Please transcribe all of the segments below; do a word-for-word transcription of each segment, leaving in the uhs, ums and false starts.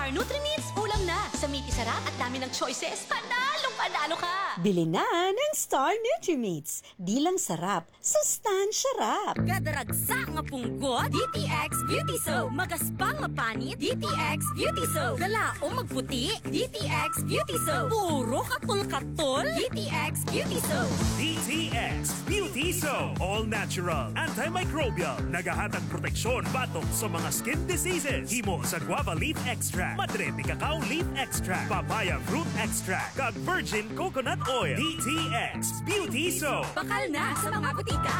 Nutri-Meats, ulam na! Sa meaty sarap at dami ng choices, panalong-panalo ka! Bili na ng Star Nutri-Meats. Di lang sarap, sustansya rap. Kada ragsa nga punggot, D T X Beauty Soap. Magaspang nga panit, D T X Beauty Soap. Kalaom magputi, D T X Beauty Soap. Puro katol-katol, D T X Beauty Soap. D T X Beauty Soap. All natural, antimicrobial. Nagahatag proteksyon batok sa mga skin diseases. Himo sa guava leaf extract, madre de cacao leaf extract, papaya fruit extract, kag virgin coconut oil. D T X Beauty Soap. Bakal na sa mga butika.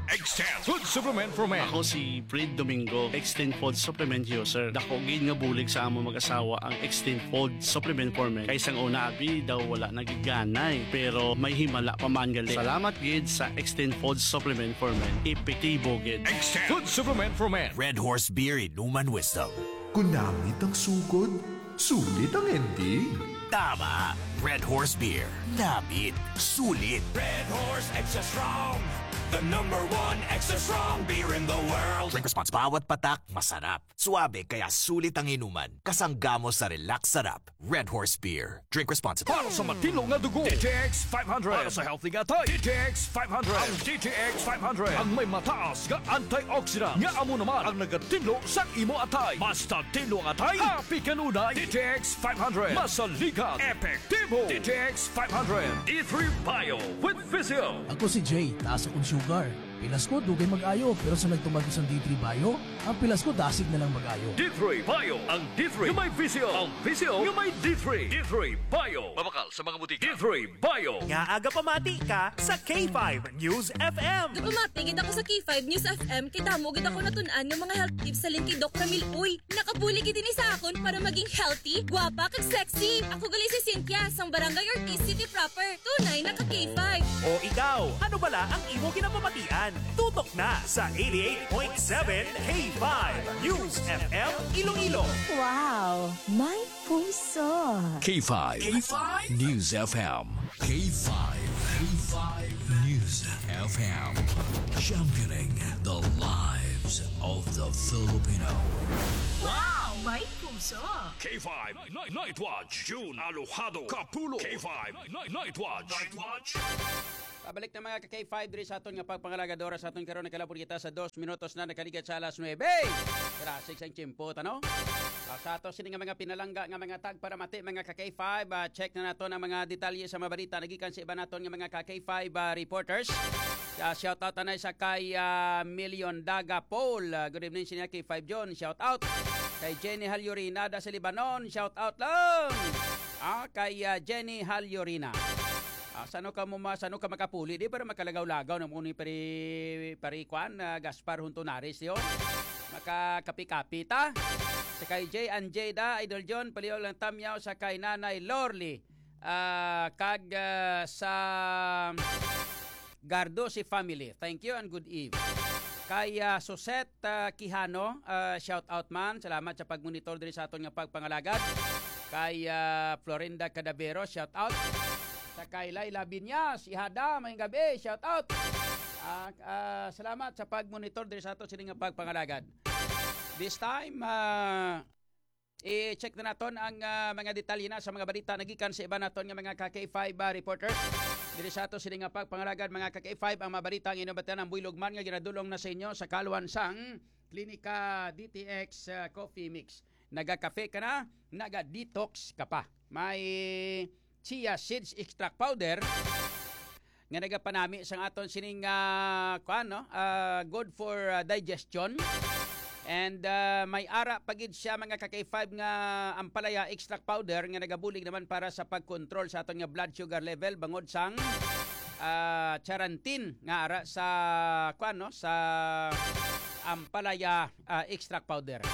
Extend Food Supplement for Men. Ako si Fred Domingo, Extend Food Supplement User. Dako gid nga bulig sa amo mag-asawa ang Extend Food Supplement for Men. Kay sang una, abi, daw wala nagiganay, pero may himala pa man gali. Salamat gid sa Extend Food Supplement for Men. Epektibo gid. Extend Food Supplement for Men. Red Horse Beer, Inuman Wisdom. Kung namit ang sugod, sulit ang ending. Tama. Red Horse Beer. Namit. Sulit. Red Horse Extra Strong. The number one extra strong beer in the world. Drink responsible. Bawat patak, masarap. Suabe, kaya sulit ang inuman. Kasangga mo sa relax sarap. Red Horse Beer. Drink responsibly. Para sa matinlo nga dugo, D T X five hundred. Para sa healthy nga atay, D T X five hundred. Ang D T X five hundred ang may mataas nga antioxidant nga amo naman ang nagatinlo sa imo atay. Basta tinlo ang atay, happy kanunay. D T X five hundred. Masaligan. Epektibo. D T X five hundred. D three Bio with Physio. Ako si Jay, taas akong sugar. Pilas ko, dugay mag-ayo, pero sa nagtuman ko sang D three Bio, ang pilas ko dasig na lang mag-ayo. D three Bio, ang D three nga may Physio, ang Physio nga may D three. D three Bio. Mabakal sa mga butika. D three Bio. Nga aga pamati ka sa K five News F M. Gapamati gid ako sa K five News F M kay damo gid ako natun-an nga mga health tips halin kay Doc Ramil. Uy, nakabulig gid ini sa akon para maging healthy, gwapa, kag sexy. Ako gali si Cynthia sang Barangay Ortiz City Proper. Tunay na ka K five. O ikaw, ano bala ang imo ginapamatian? Tutok na sa eighty-eight point seven K five News F M Iloilo. Wow, may puso. K five. K five. News F M. K five. K five News F M. Championing the lives of the Filipino. Wow, may puso. K five Night, Night Watch, June Alojado Kapulo. K five Night, Night Watch. Night Watch. Pabalik na, mga ka K five, diri sa aton nga pagpangalagad. Oras sa aton karon, nakalabot kita sa dos minutos na nakaligad sa alas nuebe. Grasig sang tiyempo, tano? Ah, sa ato sini nga mga pinalangga nga mga tag para mati, mga ka K five, ah, check na nato ang mga detalye sa mga balita nagikan sa iban naton nga mga ka K five, ah, reporters. Ah, shout out anay sa kay, ah, Million Daga Paul. Ah, good evening sa inyo, K five John. Shout out kay Jenny Halyorina da sa Lebanon. Shout out lang. Ah, kay, ah, Jenny Halyorina. Ah, sano ka mo ma-, sano ka makapuli di para makalagaw-lagaw na mo ni pari, pari kwan, ah, Gaspar Huntunaris yo. Makakapi-kapi ta. Sa kay J and J da, Idol John, paliw lang tamyaw sa kay Nanay Lorly. Ah, kag, ah, sa Gardo si family. Thank you and good eve. Kay, ah, Suset, ah, Quijano, ah, shout out man. Salamat sa pagmonitor diri sa aton nga pagpangalagad. Kay, ah, Florinda Cadavero, shout out. Sa kay Laila Binyas, Ihada, mayong gabi, shout out. Ah, ah, salamat sa pagmonitor diri sa aton sini nga pagpangalagad. This time, ah, i-check na naton ang, ah, mga detalye na sa mga balita nagikan sa iban naton nga mga ka K five, ah, reporters. Diri sa ato sini nga pagpangalagad, mga ka K five, ang mga balita ang inyong batian ang buylog man nga ginadulong na sa inyo sa kaluan sang Klinika D T X, ah, Coffee Mix. Nagakafe ka na, naga-detox ka pa. May chia seeds extract powder nga nagapanami sang aton sining, ah, kuan, no? Ah, good for, ah, digestion. And, ah, may ara pa gid siya, mga ka K five, nga ampalaya extract powder nga nagabulig naman para sa pagkontrol sa aton nga blood sugar level bangod sang, ah, charantin nga ara sa, kuan, no? Sa ampalaya, ah, extract powder.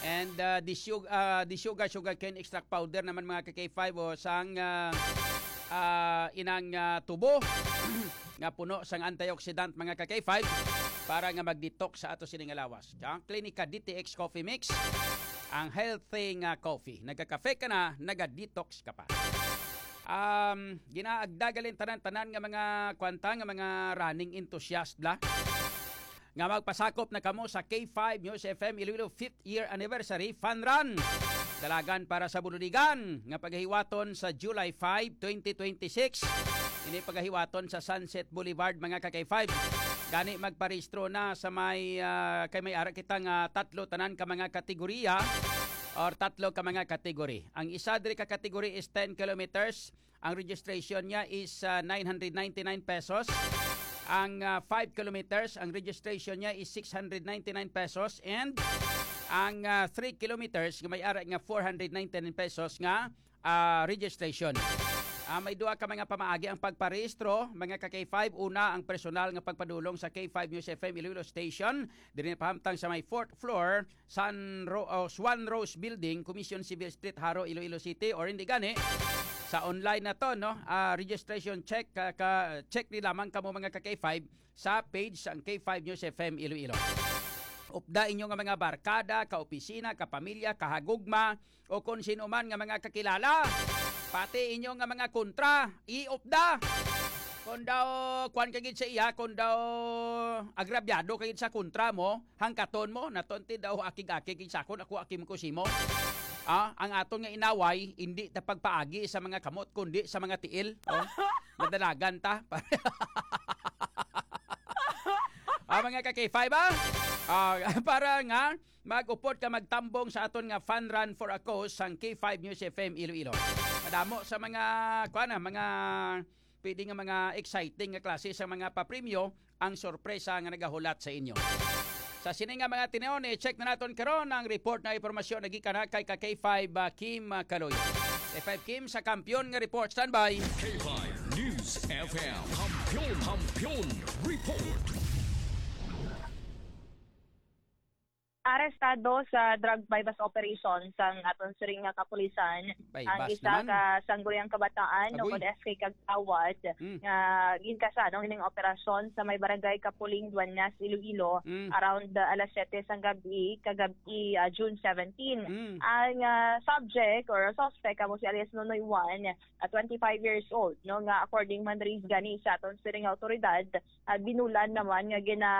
And, ah, the sug-, ah, the sugar, sugarcane extract powder naman, mga ka K five, o sang, ah, ah, inang, ah, tubo nga puno sang antioxidant, mga ka K five, para nga mag-detox sa ato sini nga lawas. Ang Klinika D T X Coffee Mix, ang healthy nga coffee. Nagkakafe ka na, naga-detox ka pa. Um, ginaagda gali tanan-tanan nga mga kwanta nga mga running enthusiast bla nga magpasakop na kamo sa K five News F M Iloilo fifth year anniversary fun run. Dalagan para sa Bulunigan nga pagahiwaton sa July five, twenty twenty-six. Ini pagahiwaton sa Sunset Boulevard, mga ka-K five. Gani magparehistro na sa may, ah, kay may ara kita nga tatlo tanan ka mga kategorya or tatlo ka mga kategory. Ang isa diri ka kategory is ten kilometers. Ang registration niya is, ah, nine hundred ninety-nine pesos. Ang, ah, five kilometers, ang registration niya is six hundred ninety-nine pesos. And ang, ah, three kilometers, nga may ara nga four hundred ninety-nine pesos nga, ah, registration. Ah, may duha ka mga pamaagi ang pagparehistro, mga ka-K five. Una, ang personal nga pagpadulong sa K five News F M Iloilo Station, diri na pahamtang sa may fourth floor, San Ro-, oh, Swan Rose Building, Commission Civil Street, Jaro, Iloilo City, or hindi gani, sa online na to, no? Ah, registration check, ka, ka, check ni lamang kamo, mga ka-K five, sa page sang K five News F M Iloilo. Upda inyo nga mga barkada, kaopisina, kapamilya, kahagugma, o kon sino man nga mga kakilala. Pati inyo nga mga kontra, iupda. Kon daw, kuwan ka gid sa iya, kon daw agrabyado ka gid sa kontra mo, hangkaton mo, naton ti daw akig-akig gid sa akon, ako akig mo kusimo. Ah, ang aton nga inaway, hindi ta pagpaagi sa mga kamot, kundi sa mga tiil. Oh, madalagan ta. Ah, mga ka-K five, ah? Ah, para nga mag-upod ka magtambong sa aton nga Fun Run for a Cause sang K five News F M Iloilo. Madamo sa mga, kuwan na, mga pwede nga mga exciting nga klase sa mga papremyo ang sorpresa nga nagahulat sa inyo. Sa sini nga mga tinuon, i-check na naton karon ang report na impormasyon na gikan na kay ka K five, ah, Kim, ah, Kaloyo. K five Kim sa Kampiyon nga report. Standby. K five News F M. Kampiyon, Kampiyon Report. Arestado sa drug buy-bust operation sang aton siring nga kapulisan ang Buy-bust isa naman. Ka sangguniang kabataan, Agoy. Ukon S K Kagawad, Mm. nga ginkasa, no, ining operasyon sa may barangay Kapuling, Dueñas, Iloilo, Mm. around, uh, alas siyete sang gabi, kagabi, uh, June seventeen. Mm. Ang, uh, subject or suspect amo si alias Nonoy Juan, uh, twenty-five years old, no, nga according man diri gani sa aton siring nga awtoridad, uh, binulan naman nga gina,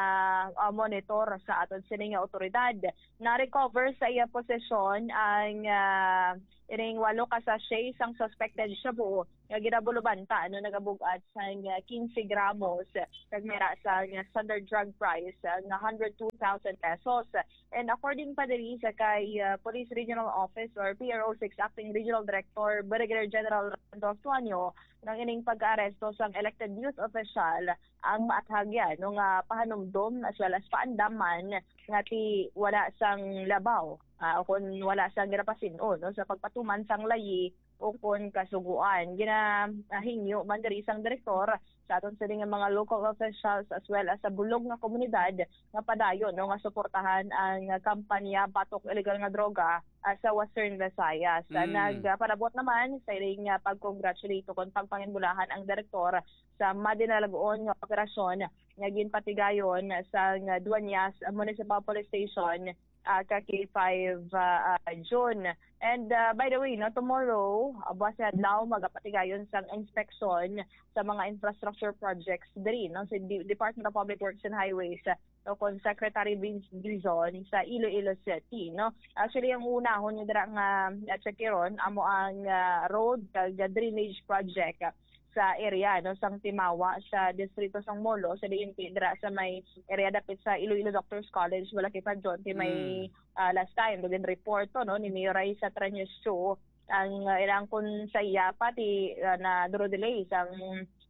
uh, monitor sa aton siring nga awtoridad. Na-recover sa iya posesyon ang, ah, ining walo ka sachet sang suspected shabu nga ginabulubanta, ano, nagabug-at sang, ah, quince gramos, kag may ra sang standard drug price, ah, nga hundred two thousand pesos. And according pa diri sa kay, ah, Police Regional Office or P R O six Acting Regional Director Brigadier General Randolph Tuanyo, nang ining pag-aresto sang elected youth official ang maathagyan, no, nga pahanumdom as well as paandaman nga ti wala sang labaw, ah, o kon wala sang ginapasin-on, no, sa pagpatuman sang layi o kon kasugoan. Gina-, ah, hingyo man diri sang direktor sa aton sini nga mga local officials as well as sa bulog nga komunidad nga padayon, no, nga suportahan ang kampanya batok illegal nga droga, ah, sa Western Visayas. Ah, Mm. nagpalabot naman sa ining, ah, pag-congratulate o kon pagpanginbulahan ang direktor sa madinalag-on nga operasyon nga ginpatigayon sa Dueñas Municipal Police Station, ah, ka K five, ah, ah, June. And, ah, by the way, no, tomorrow, ah, buwas nga adlaw, magapatigayon sang inspeksyon sa mga infrastructure projects diri, no, sa Di-, Department of Public Works and Highways, ah, o kon Secretary Vince Dizon sa Iloilo City, no. Actually, ang unahon niya dira nga, ah, check ron, amo ang, ah, road kag drainage project, ah, sa area, no, sang Timawa sa distrito sang Molo, sa D N P, dira sa may area dapit sa Iloilo Doctors College, wala kay Padyon, kay may, Mm. ah, last time, daw gin-report to, no, ni Mayor Raisa Treños Cho, ang, ah, ilang kun sa iya pa, ti, ah, na duro delay sang,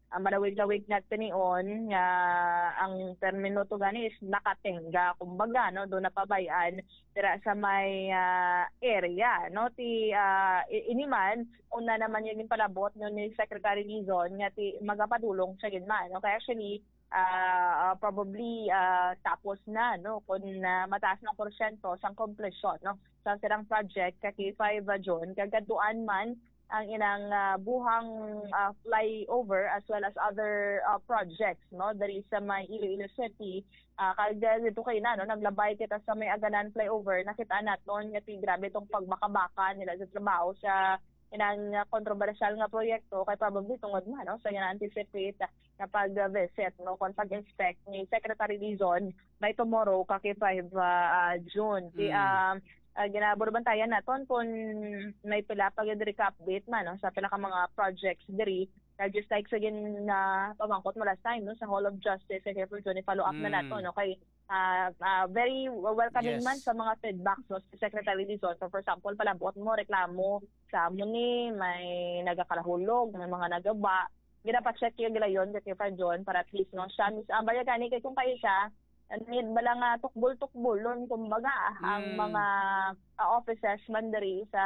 ah, malawig-lawig nga tinion nga ang termino to gani is nakatingga, kumbaga, no, do napabay-an dira sa may, ah, area, no? Ti, ah, i-, ini man, una naman yung palabot, no, ni Secretary Dizon nga ti magapadulong siya gid man, no? Kaya actually, ah, ah, probably, ah, tapos na, no, kung, ah, mataas na porsyento sang komplisyon, no, sa sirang project ka K five, ah, June, kagaduan man ang inang, ah, buhang, ah, flyover as well as other, ah, projects, no, diri sa may Iloilo City. Ah, kag, ah, dito kayo na, no, naglabay kita sa may Aganan flyover, nakita naton nga ti grabe tong pagbakabaka nila sa trabaho sa inang, ah, kontrobersyal nga proyekto, kay probably tungod man, no, sa gina-anticipate na pag-visit, no, kon pag-inspect ni Secretary Dizon by tomorrow, ka K five, ah, ah, June. Ti, Mm. ah, ah, ginaburubantayan naton kung may pila pa gyud diri ka update man, no, sa pila ka mga projects diri. Kag just like sa gin-, na pamangkot mo last time, no, sa Hall of Justice, kay Kefir Johnny, follow up na Mm. nato, no, kay, ah, ah, very welcoming Yes. man sa mga feedback, no, sa Secretary Dizon. So, for example, palabot mo, reklamo sa amo ni, may nagakalahulog, may mga nagaba. Ginapacheck yung gilayon kay Kefir John para at least, no, siya mis-, ang baya gani kay kung kayo siya, need bala nga tukbol-tukbolon, kumbaga, ang Mm. mga, ah, offices man diri sa,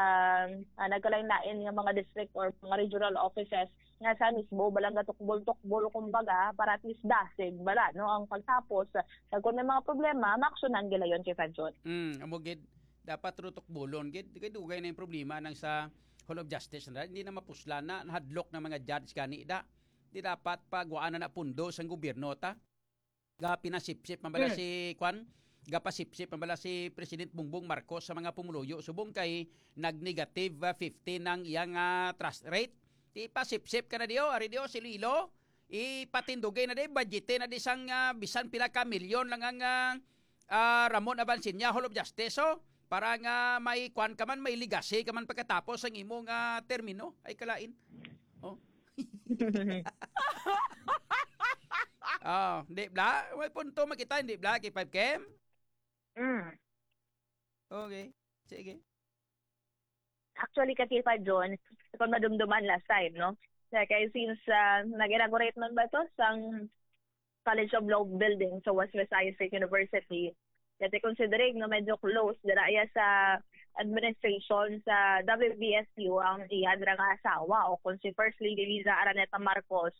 ah, nagkalain-lain nga mga district or mga regional offices nga sa mismo bala nga tukbol-tukbol, kumbaga, para at least dasig bala, no, ang pagtapos. Kag kung may mga problema, maaksyonan gilayon kay Fadjon. Mm, amo gid, dapat ro tukbolon gid kay dugay na yung problema nang sa Hall of Justice na hindi na mapuslan na, nahadlok ng mga judge gani da. Di dapat pagwaan na na pundo sang gobyerno ta. Gapinasipsip man bala Hmm. si kwan? Gapasipsip man bala si President Bongbong Marcos sa mga pumuluyo subong kay nag-negative, ah, fifty nang iyang, ah, trust rate? Di pasipsip ka na diyo, ari diyo si Lilo. Ipatindugay na di, budgete na di sang, ah, bisan pila ka milyon lang ang, ah, ah, Ramon Avancenia Hall of Justice, oh. Para nga may kwan ka man, may legacy ka man pagkatapos ang imong, ah, termino. Ay, kalain. Oh. Oh, di bla? May punto makita, di bla, kay five K M? Mm. Okay. Sige. Actually, kay five John, kung madumduman last time, no? Kaya kay since, ah, nag-inaugurate man ba to sang College of Law building sa West Visayas State University, kaya considering, no, medyo close dira iya sa administration sa W V S U ang iya dira nga asawa, o kung si First Lady Liza Araneta Marcos,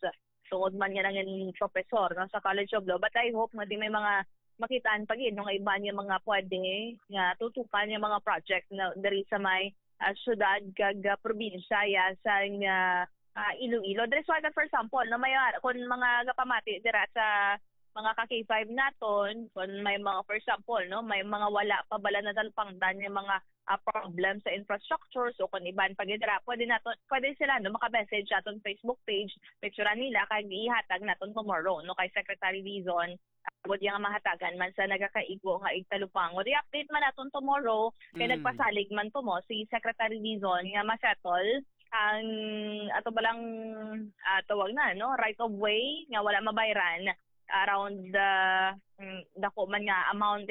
tungod man nga nangin professor, no, sa College of Law. But I hope nga di may mga makitaan pa gid, no, nga iba niya mga pwede nga tutukan niya mga project na diri sa may, ah, syudad kag, ah, probinsya ya sa, ah, ah, Iloilo. Diri sa, for example, no, may, ah, kung mga gapamati dira sa mga ka K five naton, kung may mga, for example, no, may mga wala pa bala natalupangdan nga mga, ah, problem sa infrastructure, so kung iban pa gid dira, pwede nato, pwede sila, no, maka-message sa aton Facebook page, picturean nila kag ihatag naton tomorrow, no, kay Secretary Dizon, agod yang mahatagan man sa nagakaigo nga igtalupang. O di update man naton tomorrow, kay Mm. nagpasalig man to mo si Secretary Dizon nga ma-settle ang ato balang, ah, tawag na, no, right of way nga wala mabayran around the, mm, dako man nga amount